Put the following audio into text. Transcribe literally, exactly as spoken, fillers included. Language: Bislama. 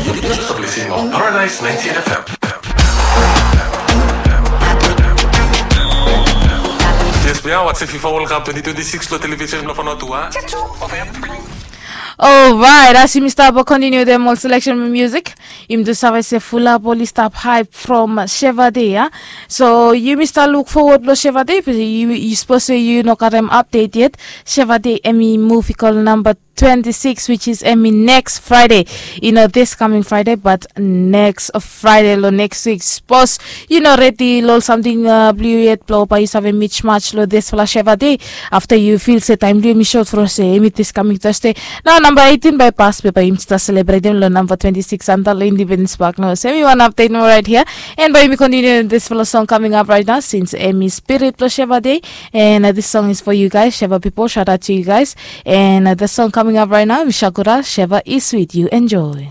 Yu stap listening on Paradise ninety-eight F M. Yes, bia, watch FIFA World Cup twenty twenty-six lo television blo Vanuatu, a? Alright, as yumi stap kontiniu dem ol selection music, yumi tu save se fulap oli stap hype from Sheva Day, a? So yumi stap luk forward lo Sheva Day, be yu, yu sapos se yu no gat em update yet. Sheva Day hemi muv i go lo namba twenty-six, which is hemi next Friday. Yu no, this coming Friday, but next Friday lo next week. Sapos yu no redi lo ol samting, uh, blo yu yet, blo bae yu save mismatch lo disfala Sheva Day, afta yu feel se taem blo yumi sot from se hemi this coming Thursday. Nao namba eighteen bae pas, be bae yumi stap selebretem lo namba twenty-six antap lo Independence Park. Nao se hemi wan update nomo right here. And bae yumi kontiniu disfala song coming up right now, since hemi spirit blo Sheva Day. And, uh, this song is for you guys, Sheva people. Shout out to you guys. And, uh, the song coming up right now, Mishakura, Sheva is sweet. You enjoy.